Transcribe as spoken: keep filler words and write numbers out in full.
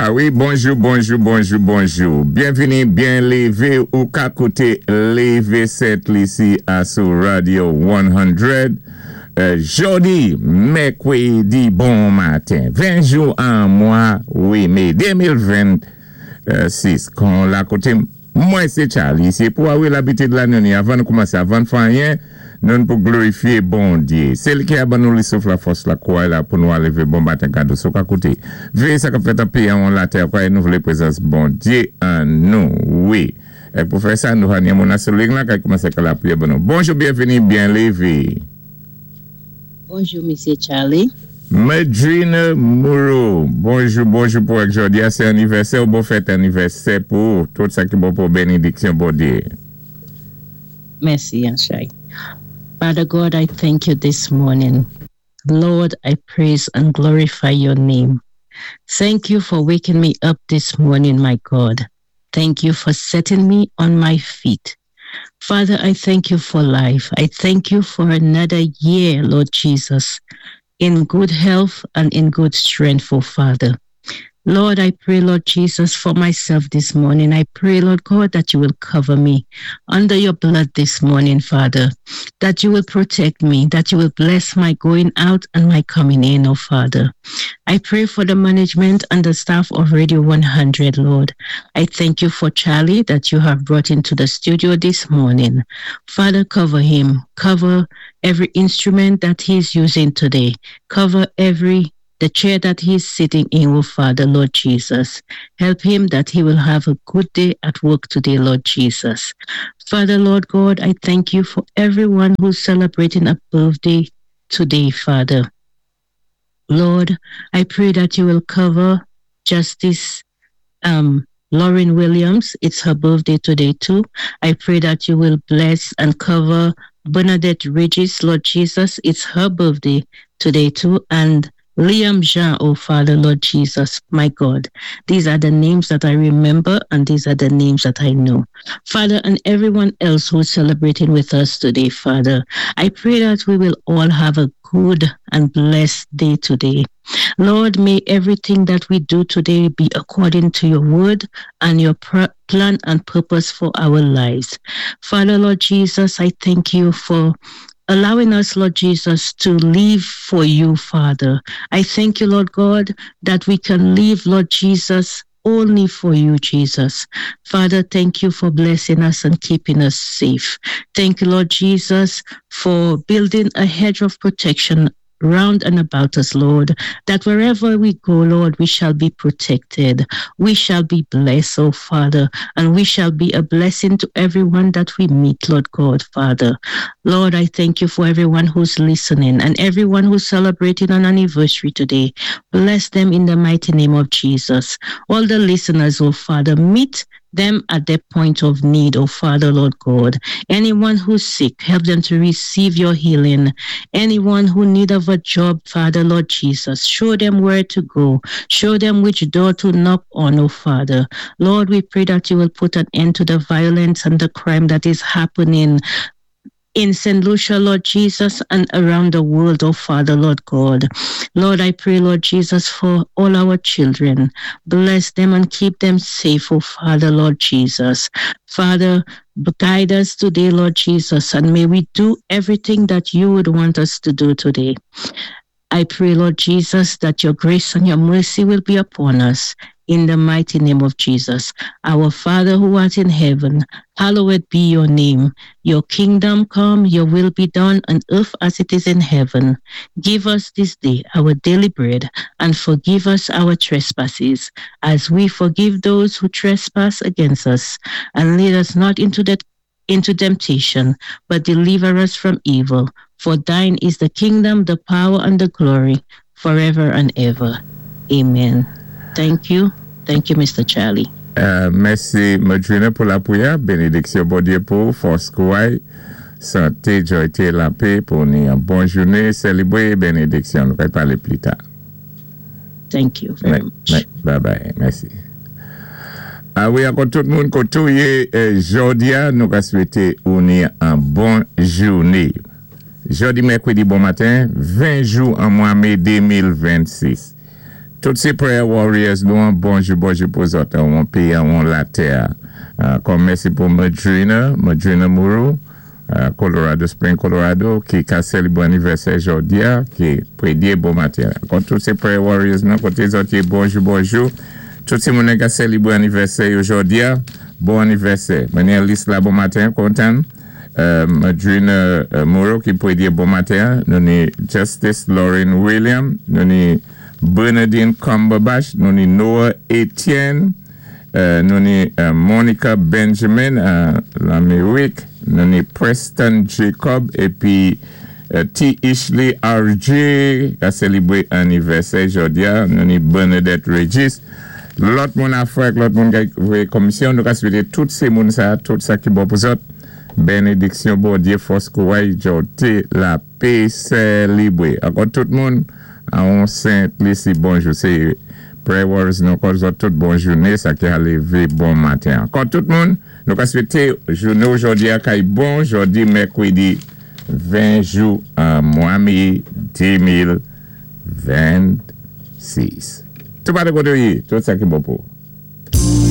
Ah wi, bonjou, bonjou, bonjou, bonjou. Byenvini, byen lévé ou ka kouté Lévé Sent Lisi asou Radio san. Euh, jòdi, mèkwédi, bon maten. ven jou an mwa, wi, mé de mil vennsis. Kon la kouté, mwen sé Charlie. Sé pou awi labitid la nou ni avan nou koumansé, avan fè anyen, nou pou glorifié Bondyé. Sé li ki a ban nou li souf la fòs la kouway la pou nou alévé bon maten kado sou ka kouté. Véyé sa k ap fèt an péyi an latè, kwa nou vlé pwézans Bondyé an nou, wi. É pou fè sa, nou hanyen moun asou ling la, kay koumansé ka la pwiyé ban nou. Bonjou, byenvini, byen lévé. Bonjou, Misyé Charlie. Medrine Moreau, bonjou, bonjou pou ak jòdi a, sé anivèsè ou bon fèt anivèsè pou tout sa ki bon pou bénidiksyon Bondyé. Mèsi, Anshay. Father God, I thank you this morning. Lord, I praise and glorify your name. Thank you for waking me up this morning, my God. Thank you for setting me on my feet. Father, I thank you for life. I thank you for another year, Lord Jesus, in good health and in good strength, oh Father. Lord, I pray, Lord Jesus, for myself this morning. I pray, Lord God, that you will cover me under your blood this morning, Father, that you will protect me, that you will bless my going out and my coming in, oh Father. I pray for the management and the staff of Radio one hundred, Lord. I thank you for Charlie that you have brought into the studio this morning. Father, cover him, cover every instrument that he's using today, cover every the chair that he's sitting in, oh Father, Lord Jesus. Help him that he will have a good day at work today, Lord Jesus. Father, Lord God, I thank you for everyone who's celebrating a birthday today, Father. Lord, I pray that you will cover Justice um, Lauren Williams. It's her birthday today, too. I pray that you will bless and cover Bernadette Regis, Lord Jesus. It's her birthday today, too. And Liam Jean, oh Father, Lord Jesus, my God. These are the names that I remember and these are the names that I know. Father, and everyone else who's celebrating with us today, Father, I pray that we will all have a good and blessed day today. Lord, may everything that we do today be according to your word and your pr- plan and purpose for our lives. Father, Lord Jesus, I thank you for allowing us, Lord Jesus, to live for you, Father. I thank you, Lord God, that we can live, Lord Jesus, only for you, Jesus. Father, thank you for blessing us and keeping us safe. Thank you, Lord Jesus, for building a hedge of protection round and about us, Lord, that wherever we go, Lord, we shall be protected. We shall be blessed, oh Father, and we shall be a blessing to everyone that we meet, Lord God, Father. Lord, I thank you for everyone who's listening and everyone who's celebrating an anniversary today. Bless them in the mighty name of Jesus. All the listeners, oh Father, meet them at their point of need, oh Father, Lord God. Anyone who's sick, help them to receive your healing. Anyone who need of a job, Father, Lord Jesus, show them where to go. Show them which door to knock on, oh Father. Lord, we pray that you will put an end to the violence and the crime that is happening in Saint Lucia, Lord Jesus, and around the world, oh Father, Lord God. Lord, I pray, Lord Jesus, for all our children. Bless them and keep them safe, oh Father, Lord Jesus. Father, guide us today, Lord Jesus, and may we do everything that you would want us to do today. I pray, Lord Jesus, that your grace and your mercy will be upon us. In the mighty name of Jesus. Our Father who art in heaven, hallowed be your name. Your kingdom come, your will be done on earth as it is in heaven. Give us this day our daily bread and forgive us our trespasses as we forgive those who trespass against us. And lead us not into the into temptation, but deliver us from evil. For thine is the kingdom, the power, and the glory forever and ever. Amen. Thank you. Thank you, Mister Charlie. Euh, mèsi, Medrina, pou lapwiyè. Bénidiksyon Bondyé pou fòs kouway, santé, jwayté, lapè pou ni yon bon jouné, sélébwé bénidiksyon. Nou va palé pli ta. Thank you very much. Bye bye. Mèsi. Ah wi, ankò tout moun koté ou yé jòdi a, nou ka swété ou ni an bon jouné. Jòdi mèkwédi bon maten, ven jou an mwa mé de mil vennsis. Tout sé prayer warriors, nou bonjou, bonjou pou zòt, an péyi, an latè. Kòm mèsi pou Madrina, Madrina Mourou, Colorado Spring, Colorado, ki ka sélébwé anivèsè jòdi-a, ki prédyé bon maten. Kon tout sé prayer warriors nou, koté zòt yé bonjou, bonjou. Tout sé moun ka sélébwé anivèsè jòdi-a, bon anivèsè. Mwen ni lis la bon maten, kontan. Madrina Mourou ki prédyé bon maten. Nou ni Justice Lauren William, nou ni Bernadine Cumberbatch, nou ni Noah Etienne, nou ni Monica Benjamin, l'Amérique, nou ni Preston Jacob, épi T. Ishley R J, ka sélébwé anivèsè jòdi-a, nou ni Bernadette Regis. Lòt moun afè, lòt moun ki voyé komisyon, nou ka swété tout sé moun sa, tout sa ki bon pou zòt. Bénédiksyon Bondyé, fòs kouray, jòté, lapè, sélébwé. Ankò tout moun, an Saint Lucie, bonjou. Sé prayer warriors nou kon zòt tout bon jouné, sa ki a lévé bon maten. Ankò tout moun, nou ka swété jouné jòdi-a kay bon, jòdi mèkwédi ven jou an mwa mé de mil vennsis. Tout pa de koté, tout sa ki bon pou.